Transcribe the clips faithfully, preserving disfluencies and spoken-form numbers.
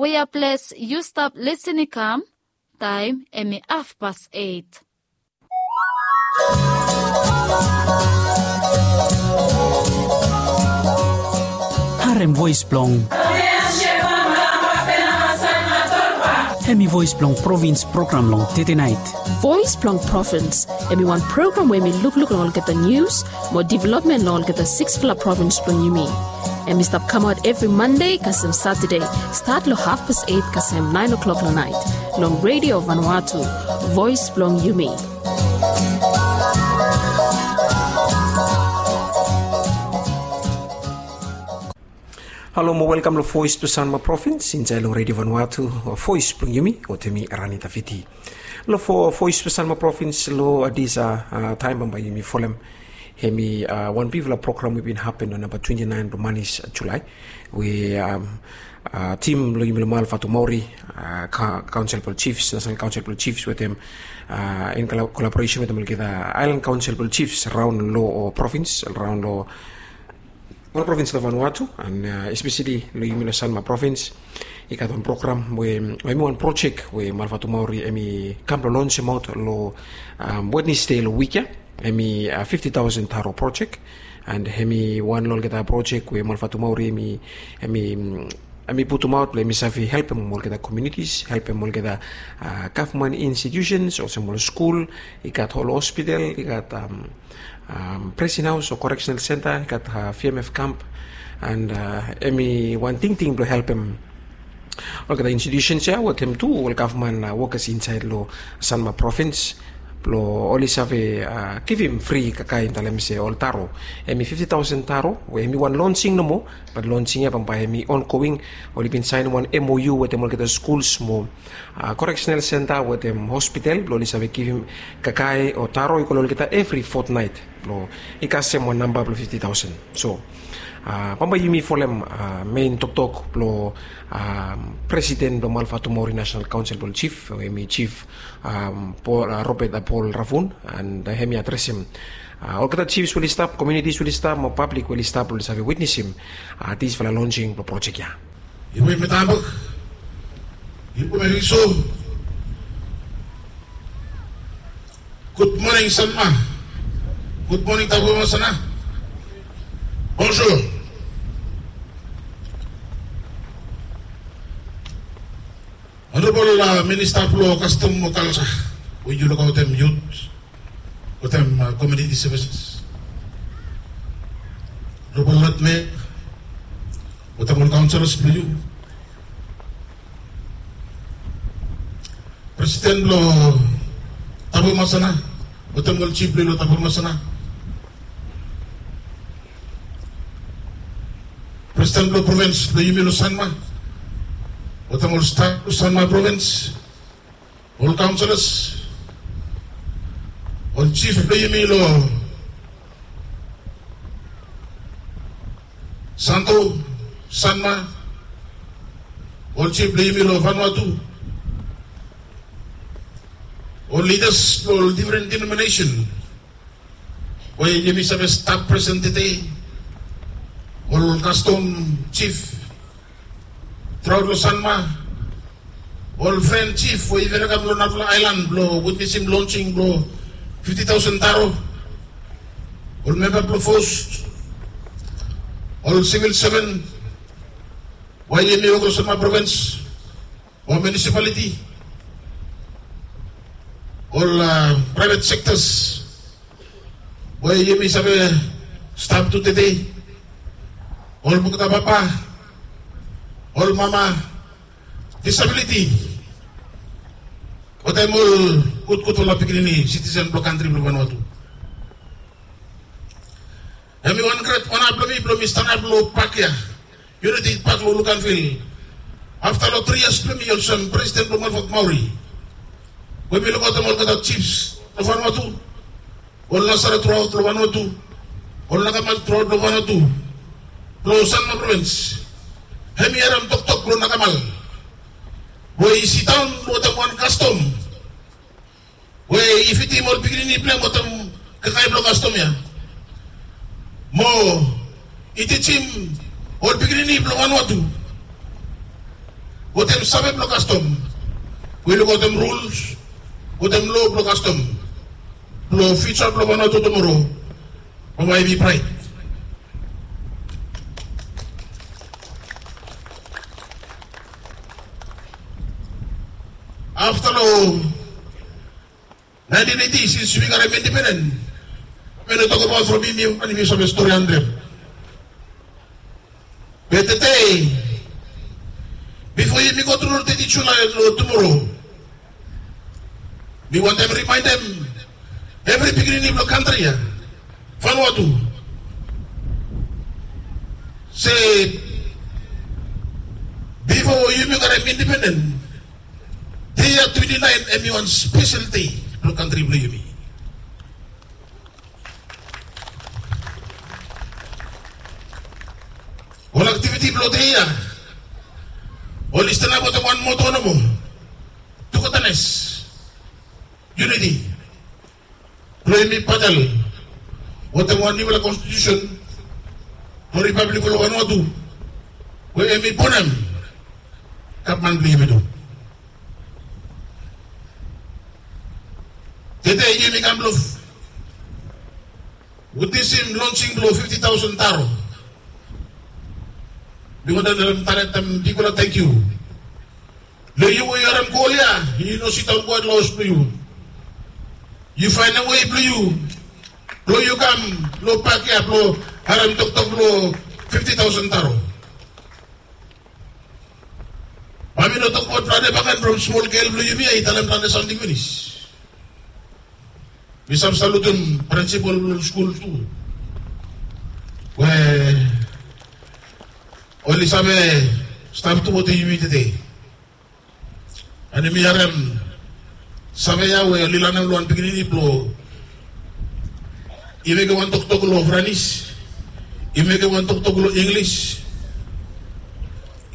We ya ples yu stap lisin i kam, taem hemi hafpas eit. Harem voes blong. Hemi voes blong provins program long tedenaet. Voes blong provins, hemi wan program we hemi lukluk long olgeta nius mo developmen long olgeta siksfala provins blong yumi. Hemi stap kamaot evri Mande kasem Satade, stat long hafpas eit kasem naen o'klok long naet, long Redio Vanuatu, voes blong yumi. Halo mo welkam long Voes blong Sanma Provins insaed long Redio Vanuatu, voes blong yumi, wetem mi Ranita Fiti. Long Voes blong Sanma Provins long disa taem bambae yumi folem. Hemi wan bigfala program we bin hapen long namba twenti naen blong manis Julae, we tim blong yumi long Malvatumauri, Kaonsel blong Jifs, Nasenal Kaonsel blong Jifs wetem, in kolaboresen wetem olgeta aelan kaonsel blong jifs raon long provins, raon long ol provins long Vanuatu, an espeseli long yumi long Sanma Provins, i gat wan program we, hemi wan projek we Malvatumauri hemi kam blong lonsemaot long Wednesde long wik ya. Hemi fifti taosen taro projek, an hemi wan long olgeta projek we Malvatumauri hemi, hemi putumaot blong hemi save helpem olgeta komunitis, helpem olgeta gavman institusens olsem ol skul, i gat ol hospital, i gat presin haos o koreksenal senta, i gat V M F kamp, an hemi wan tingting blong helpem olgeta institusens ya wetem tu ol gavman wokas insaed long Sanma Provins blong oli save givim fri kakae, talem se ol taro. Hemi fifti taosen taro we hemi wan lonsing nomo, bat lonsing ya bambae hemi ongoing. Oli bin saen wan M O U wetem olgeta skuls mo koreksenal senta wetem hospital blong oli save givim kakae o taro i go long olgeta evri fotnaet blong i kasem wan namba blong fifti taosen. So bambae yumi folem mein toktok blong presiden blong Malvatumauri Nasenal Kaonsel blong Jif, hemi Jif Robert Paul Ravun, an hemi adresem olgeta jifs we oli stap, komunitis we oli stap mo pablik we oli stap blong oli save witnesim disfala lonsing blong projek ya. Iwe metabok, iwe meriso. Gud moning Sanma. Gud moning Tabu Masana. Bonjour. Honorable Minista blong Kastom mo Kalja, we yu lukaotem yut wetem komuniti sevises. Honorable Lord Mayor wetem ol kaonselas blong yu. Presiden blong Tabu Masana wetem ol jif blong yu long Tabu Masana. Presiden blong provins blong yumi long Sanma wetem ol staf blong Sanma provins. Ol kaonselas, ol jif blong yumi long Santo, Sanma, ol jif blong yumi long Vanuatu, ol lidas blong ol difren denominesen we yumi save stap presen tede, ol kastom jif, traot long Sanma, ol fren jif we i ven i kam long narafala aelan blong witnesim lonsing blong fifti taosen taro, ol memba blong fos, ol sivil seven we yumi wok long Sanma provins, ol munisipaliti, ol praevet sektas we yumi save stap tu tede, ol bukta papa, ol mama, disabiliti, wetem ol gudgudfala pikinini sitisen blong kantri blong Vanuatu. Hemi wan gret ona blong mi blong mi stanap long pak ya, Uniti Pak long Luganville, afta long tri yias blong mi olsem presiden blong Malvat Maori, we mi lukaotem olgeta jifs long Vanuatu, ol nasara truaot long Vanuatu, ol nakamal truaot long Vanuatu, blong Sanma provins. Hemi harem toktok blong nakamal we i sidaon wetem wan kastom we i fitim ol pikinini blong hem wetem kakae blong kastom ya, mo i tijim ol pikinini blong Vanuatu Wetem save blong kastom, we lukaotem rules wetem loa blong kastom blong fiuja blong Vanuatu tumoro, bambae i bi braet. Afta long naentin eiti, sins yumi karem indipenden, mi no tokbaot from yumi wan, yumi save stori hantrem. Be tede, bifo yumi gotru long teti Julae long tumoro, mi wantem rimaendem evri pikinini blong kantri ya, Vanuatu, se bifo yumi karem indipenden, dei ya twenti naen hemi wan spesel dei blong kantri blong yumi. Ol aktiviti blong dei ya oli stanap wetem wan moto nomo, tugetanes, yuniti, blong yumi batel wetem wan niufala konstitiusen blong Ripablik blong Vanuatu, we hemi bonem gavman blong yumi tu. Tede yumi kam blong witnesem lonsing blong fifti taosen taro. Mi wantem talem bigfala tangkiu long yu we yu harem kol ya, yu no sidaon kwet long haos blong yu. Yu faenem wei blong yu, blong yu kam long pak ya blong harem toktok blong fifti taosen taro. Bae mi no tokbaot plante bakegen from smol gel blong yumi ya i talem plante samting finis. Mi save salutem prinsipol blong skul tu, we oli save stap tu wetem yumi tede. An yumi harem save ya we oli lanem long wan pikinini blong i mekem wan toktok long Franis, i mekem wan toktok long Inglis,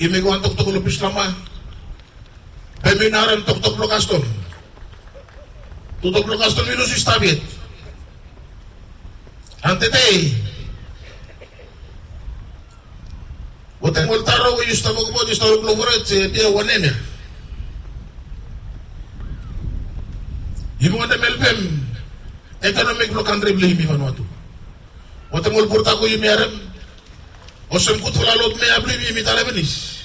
i mekem wan toktok long Bislama. Be mi no harem toktok blong kastom. Toktok blong kastom i no stap yet. An tede, wetem ol taro we yu stap wokbaot, yu stap wok long foret, se hemia wan nem ya. Yumi wantem helpem ekonomi blong kantri blong yumi Vanuatu. Wetem ol prodak we yumi harem, olsem gudfala lod mea blong yumi, yumi talem finis,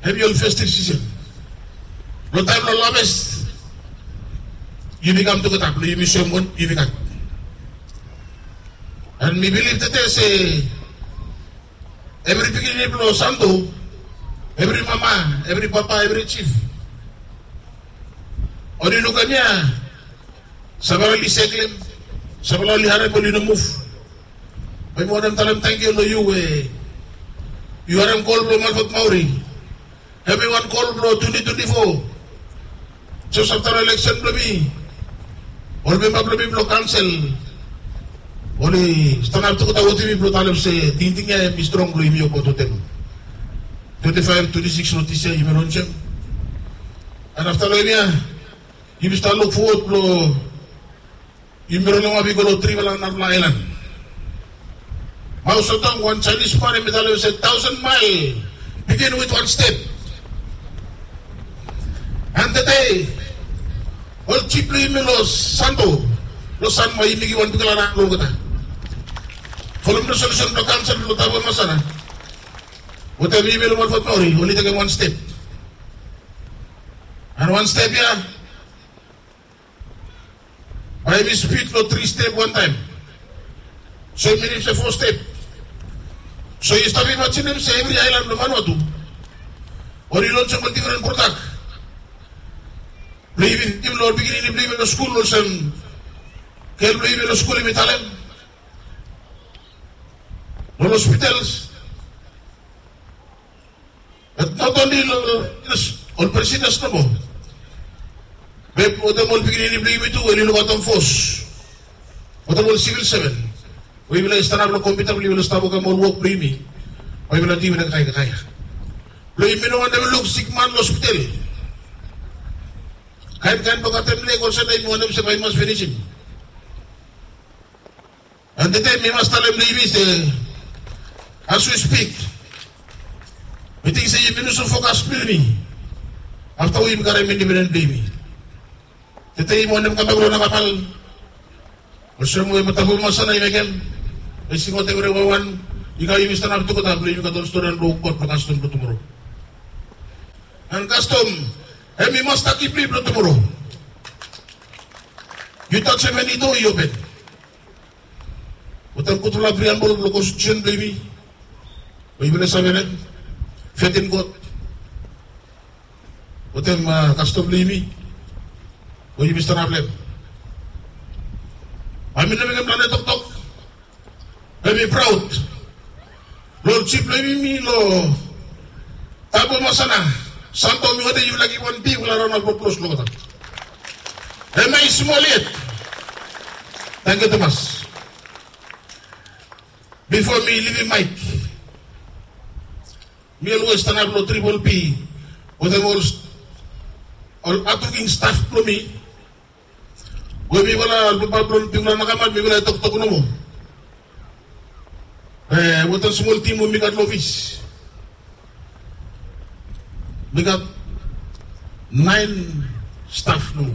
hemi ol festiv sisen. Long taem blong laves, yumi kam tugeta blong yumi soem wanem yumi gat. An mi bilif tede se evri pikinini blong Santo, evri mama, evri papa, evri jif, oli luk hemia, safala oli seklem, safala oli harem, oli no muv. Be mi wantem talem tangkiu long yu we yu harem kol blong Malford Maori. Hemi wan kol blong twenti twenti fo, jes afta long eleksen blong mi, ol memba blong mi blong kaonsel oli stanap tugeta wetem mi blong talem se tingting ya hemi strong blong yumi wokbaot wetem. Twenti faef, twenti sikis long dis yia yumi lonsem. An afta long hemia, yumi stap luk fowod blong yumi rol long ap i go long trifala narafala aelan. Mao Zedong, wan Jaenis man, hemi talem se thousand mile begin with one step. An tede ol jif blong yumi long Santo, long Sanma, yumi givim wan bigfala raon long olgeta. Folem resolusen blong kaonsel blong Taveuni Masana wetem yumi long Malford Maori, oli tekem wan step. An wan step ya bae hemi split long tri step wantaem. So i minim se fo step. So yu stap imajinem se evri aelan blong Vanuatu oli lonsem ol difren prodak blong yumi fidim long ol pikinini blong yumi long skul, olsem gel blong yumi long skul hemi talem, long ol hospitals. But not only long ol prisoners nomo, be wetem ol pikinini blong yumi tu we oli lukaotem fos, wetem ol sivil seven we yufala i stanap long kompiuta blong yufala stap wokem ol wok blong yumi, bae yufala dui wetem kakae kakae ya. Blong yumi no wantem luk sikman long hospital kaen kaen blong katem leg olsem, yumi wantem se bae i mas finisim. An tede mi mas talem long yumi se, as we speak, Mi ting se yumi lusim fokas blong yumi afta we yumi karem independens blong yumi. Tede yumi wantem kambak long Nakamal. Olsem we Matabu Masana i mekem, i singaot evriwan, i kam yumi stanap tugeta blong yumi gat ol storian blong God blong kastom blong tumora. An kastom hemi masta kipli blong tumora. Yu tajem eni doa i open. Wetem gudfala priambol blong konstitusen blong yumi we yufala save long hem, fet in God. Wetem kastom blong yumi we yumi stanap long hem. Bae mi no mekem plante toktok. Bae mi praod long ol jif blong yumi long Tabu Masana, Santo, mi wantem yufala givim wan bigfala raon of applause long olgeta. Hemia i smol yet. Tangkiu tumas. Bifo mi livim maek, mi olwes stanap long Triple P wetem ol, ol hatwoking staf blong mi. We mifala papa blong bigfala Nakamal mifala i toktok nomo. E, wetem smol tim we mi gat long ofis, mi gat naen staf nomo.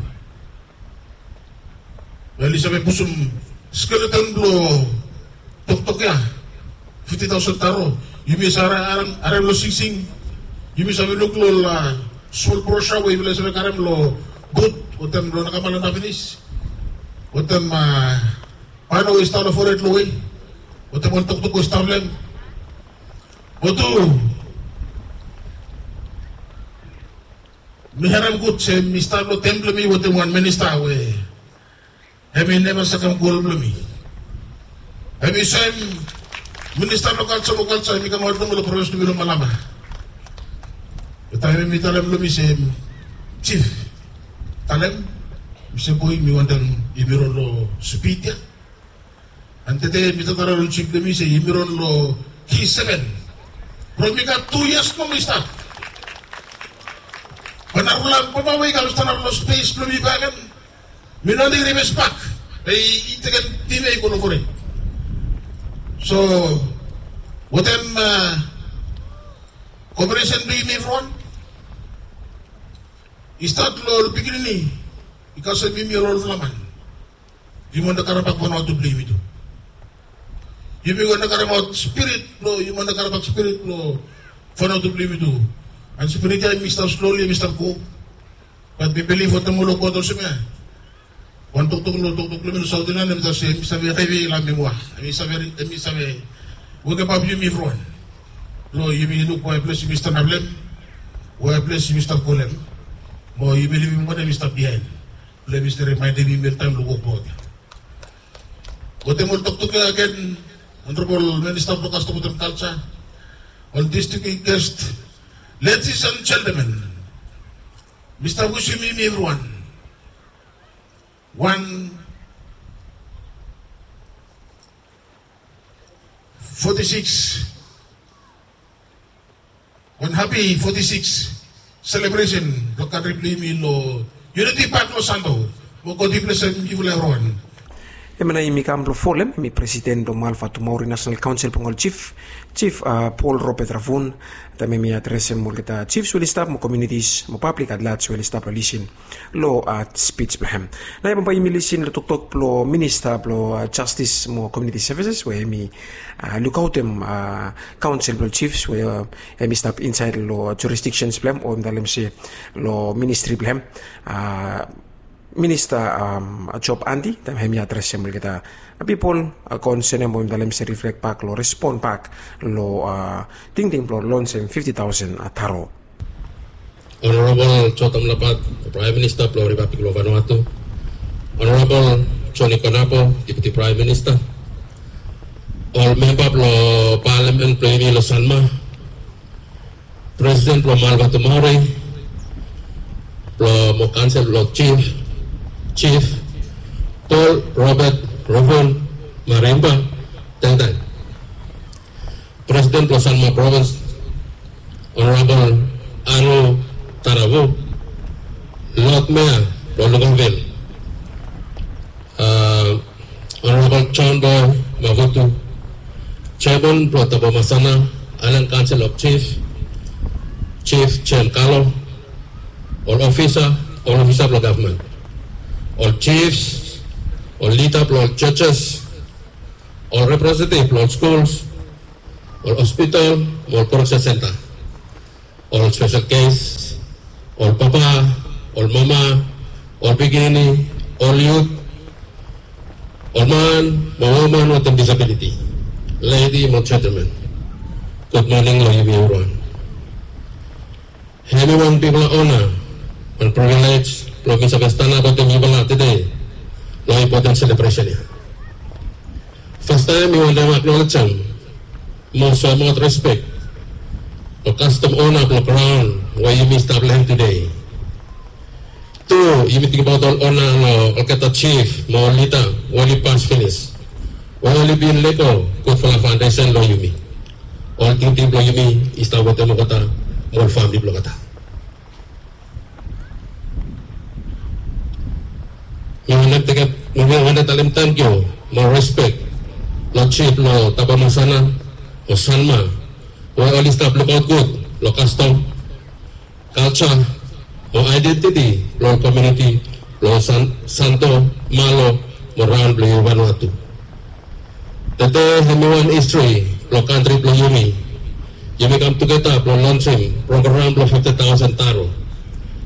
Wel, i save pusum skeleton blong toktok ya, fifti taosen taro. Yumi save harem long Sing Sing. Yumi save luk long ol smol brosa we yufala i save karem long but wetem long Nakamal nao finis. Wetem pano we i stap long fored long we, wetem ol toktok we i stap long hem. Mo tu mi harem gud se mi stap long tem blong mi wetem wan minista we hemi neva sakem gol blong mi. Hemi soem minista blong kalja, long kalja hemi kamaot nomo long provins blong mi long Malaba. Taem hemi talem long mi se, jif, talem mi se, boe, mi wantem yumi ron long spid ya. An tede mi talem long jif blong mi se yumi ron long ki seven. From mi gat tu yias nomo mi stap. Bae narafala papa we i kam stanap long spes blong mi bakegen, mi no nid ribes bak. Be i tekem tim ya i go long fored. So wetem koperesen blong yumi evriwan, i stat long ol pikinini i kasem yumi ol olfala man. Yumi wantem karem bak Vanuatu blong yumi tu. Yumi wantem karemaot spirit blong, yumi wantem karem bak spirit blong Vanuatu blong yumi tu. An spirit ya hemi stap sloli, hemi stap go. Bat mi bilif wetem ol God olsem ya. Wan toktok long toktok blong mi long Saot Inian hemi talem se hemi save hevi long mimoa. Hemi save, hemi save wekemap yumi evriwan. Long yumi luk wae ples yumi stanap long hem, wae ples yumi stap go long hem. Mo yumi livim wanem i stap biaen. Blong hemi save rimaendem yumi oltaem long wok blong God ya. Wetem ol toktok ya agen, Honorable Minista blong Kastom wetem Kalja, ol distinguished guest, ladies and gentlemen, mi stap wisim yumi evriwan wan foti sikis, wan hapi foti sikis selebresen long kantri blong yumi long Unity Park long Santo. Mo God i blesem yufala evriwan. Hemia nao yumi kam blong folem, hemi presiden blong Malvatumauri National Council blong ol jif, Jif Paul Robert Ravun, taem hemi adresem olgeta jifs we oli stap mo komunitis mo pablik at large we oli stap long lisin long spij blong hem. Nao bambae yumi lisin long toktok blong minista blong jastis mo komuniti sevises we hemi lukaotem kaonsel blong jifs we hemi stap insaed long jurisdiksen blong hem, o yumi talem se long ministri blong hem. Minista Job Andy, taem hemi adresem olgeta pipol konsenem, o yumi talem se riflek bak long respon bak long tingting blong lonsem fifti taosen taro. Honorable Jotam Lapat, Praem Minista blong Ripablik blong Vanuatu, Honorable Joni Konapo, Deputi Praem Minista, ol memba blong palamen blong yumi long Sanma, presiden blong Malvatumauri blong mo kaonsel blong jif, Jif Paul Robert Ravun Marimba Tengteng, presiden blong Sanma Provins, Honorable Anu Taravu, Lod Mea blong Luganville, Honorable John Boy Mavutu, jeaman blong Tabomasana Aelan Kaonsel of Jif, Jem Kalo, ol ofisa, ol ofisa blong gavman, ol jifs, ol lida blong ol jojis, ol representetiv blong ol skuls, ol hospital, ol koreksen senta, ol spesel kes, ol papa, ol mama, ol pikinini, ol yut, ol man mo woman wetem disabiliti, ledi mo jentelmen, gud moning long yumi evriwan. Hemi wan bigfala ona, wan privilej blong mi save stanap wetem yufala tede long impoten selebresen ya. Fastaem mi wantem aknolejem mo soemaot respek long kastom ona blong graon we yumi stap long hem tede. Tu, yumi tingbaot ol ona long olgeta jif mo ol lida we oli pas finis, we oli bin lego gudfala faondesen long yumi. Ol tingting blong yumi i stap wetem olgeta mo ol famili blong olgeta. Mi wantem tekem, mi wantem talem tangkiu mo respek long jif blong Tabamasana o Sanma, we oli stap lukaot gud long kastom, kalja mo aedentiti blong komuniti blong San, Santo, Malo mo raon blong Vanuatu. Tede hemi wan histri blong kantri blong yumi. Yumi kam tugeta blong lonsem program blong fifti taosen taro.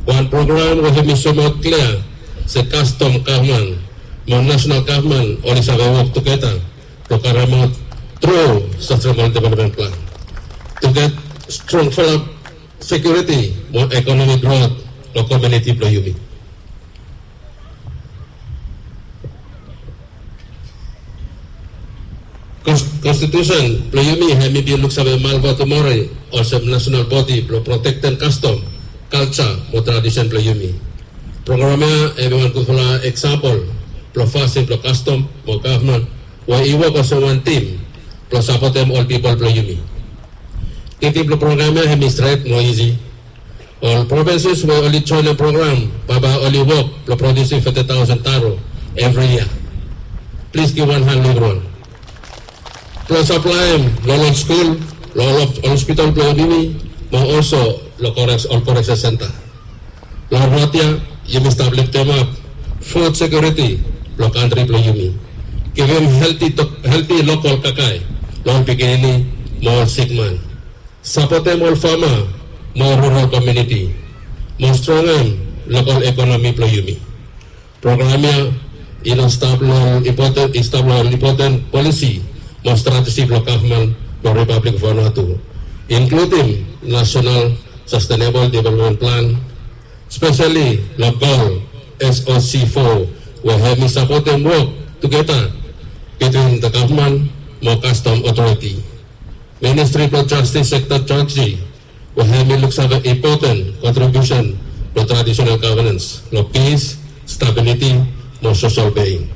Wan program we hemi soemaot klia se kastom gavman mo nasonal gavman oli save wok tugeta blong karemaot tru sastaenabol developmen plan tu get strongfala sekiuriti mo ekonomi grot long komuniti blong yumi. Kons, konstitusen blong yumi hemi bin luksave Malvatumori olsem nasonal bodi blong protektem kastom, kalja mo tradisen blong yumi. Program ya hemi wan gudfala eksampol blong fasin blong kastom mo gavman we i wok olsem wan tim blong sapotem ol pipol blong yumi. Tingting blong program ya hemi stret mo isi. Ol provinses we oli joenem program bambae oli wok blong prodiusim fifti taosen taro evri yia. Plis givim wan han long evriwan blong saplaem long ol skul, long ol hospital blong yumi, mo olso long korek, ol koreksen senta. Long rod ya yumi stap liftemap fud sekiuriti blong kantri blong yumi. Givim helti, helti lokol kakae long ol pikinini mo ol sikman. Sapotem ol fama mo rural komuniti mo strongem lokol ekonomi blong yumi. Program ya i no stap long impoten, i stap long impoten polisi mo strateji blong gavman blong Ripablik Vanuatu, inkludim Nasonal Sastenebol Developmen Plan, speseli long gol S O C fo, we hemi sapotem wok tugeta bitwin gavman mo kastom otoriti. Ministri blong Jastis sekta jaji we hemi luksave impoten kontribiusen blong tradisonal gavenens long pis, stabiliti mo sosel being.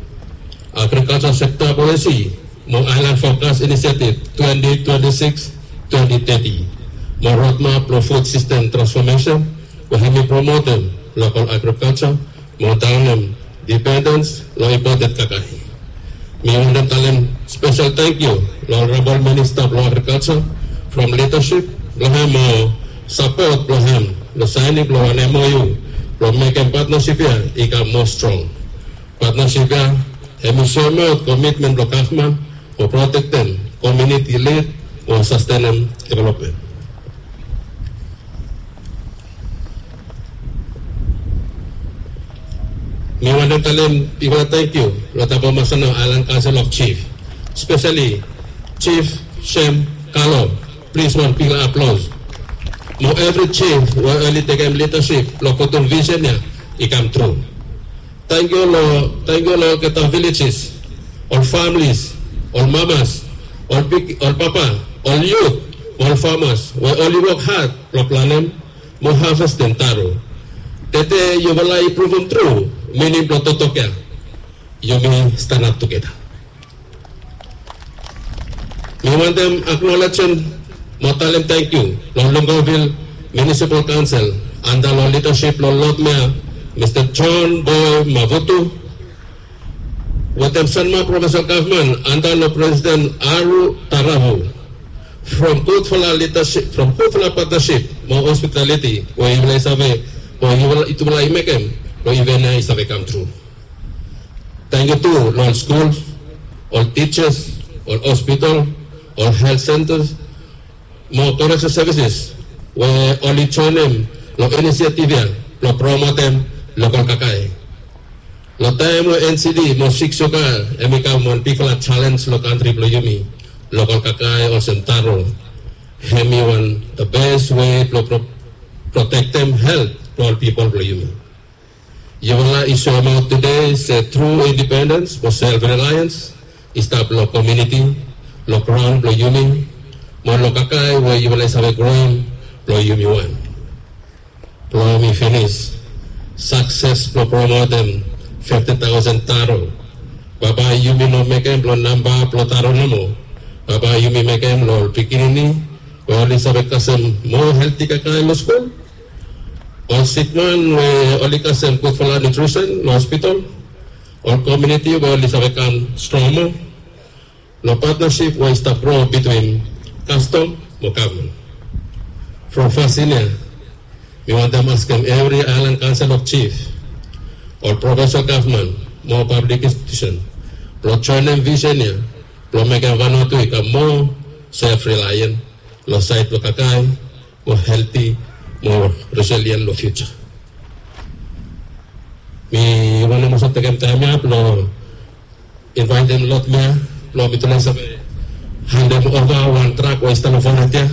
Agrikalja sekta polisi mo Aelan Fokas Inisiativ twenti twenti sikis twenti teti mo rodmap blong fud sistem transfomesen we hemi promotem lokol agrikalja mo daonem dipendens long impoten kakae. Mi wantem talem spesel tangkiu long Onarabol Minista blong Agrikalja from lidasip blong hem mo sapot blong hem long saening blong wan M O U blong mekem patnasip ya i kam moa strong. Patnasip ya hemi soemaot komitmen blong gavman mo protektem komuniti lid mo sastenem developmen. Mi wantem talem bigfala tangkiu long Tabamasana Aelan Kaonsel of Jif, speseli Jif Jem Kalo. Plis wan bigfala aplaos mo evri jif we oli tekem lidasip blong putum visen ya i kam tru. Tangkiu long, tangkiu long olgeta vilejes, ol familis, ol mamas, ol big, ol papa, ol yut, ol famas we oli wok had blong planem mo havestem taro. Tede yufala i pruvum tru mining blong toktok ya. Yumi stanap tugeta. Mi wantem aknolejem mo talem tangkiu long Luganville Municipal Council anda long lidasip blong Lod Mea Mista John Boy Mavutu wetem Sanma Provinsel Gavman anda long Presiden Aru Taravu from gudfala lidasip, from gudfala patnasip mo hospitaliti we yufala i save, we yufala i mekem, we iven ya i save kam tru. Tangkiu tu long ol skul, ol tijas, ol hospital, ol helt sentas, mo koreksen sevises we oli joenem long inisiativ ya blong promotem lokal kakae. Long taem we NCD mo sik suga hem i kam wan bigfala jalenj long kantri blong yumi, lokal kakae olsem taro hem i wan the best we blong protektem helt blong ol pipol blong yumi. Yufala i soemaot tede se tru indipendens mo self relians i stap long komuniti, long graon blong yumi, mo long kakae we yufala i save groem blong yumi wan. Blong mi finis, sakses blong promotem fifti taosen taro, bambae yumi no mekem blong namba blong taro nomo. Bambae yumi mekem long ol pikinini we oli save kasem moa helti kakae long skul, ol sikman we oli kasem gudfala nutrisen long hospital, ol komuniti we oli save kam strong moa long patnasip we i stap gro bitwin kastom mo gavman. From fasin ya, mi wantem askem evri aelan kaonsel of jif, ol provensel gavman mo pablik institiusen blong joenem visen ya blong mekem Vanuatu i kam moa self relian long saed blong kakae mo helti mo resilien long fiuja. Mi wantem olsem tekem taem ya blong invaetem Lord Mayor blong mitufala i save handem ova wan trak we i stap long fored ya.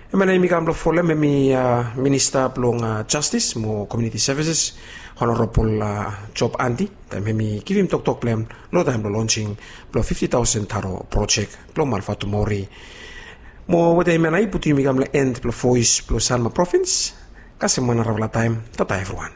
Hemia nao yumi kam blong folem hemi minista blong jastis mo komuniti sevises, Honorabol Job Andi, taem hemi givim toktok blong hem long taem blong lonsing blong fifti taosen taro projek blong Malvatumori. Mo wetem hemia nao i putum yumi kam long en blong Voes blong Sanma Provins. Kasem wan narafala taem, tata evriwan.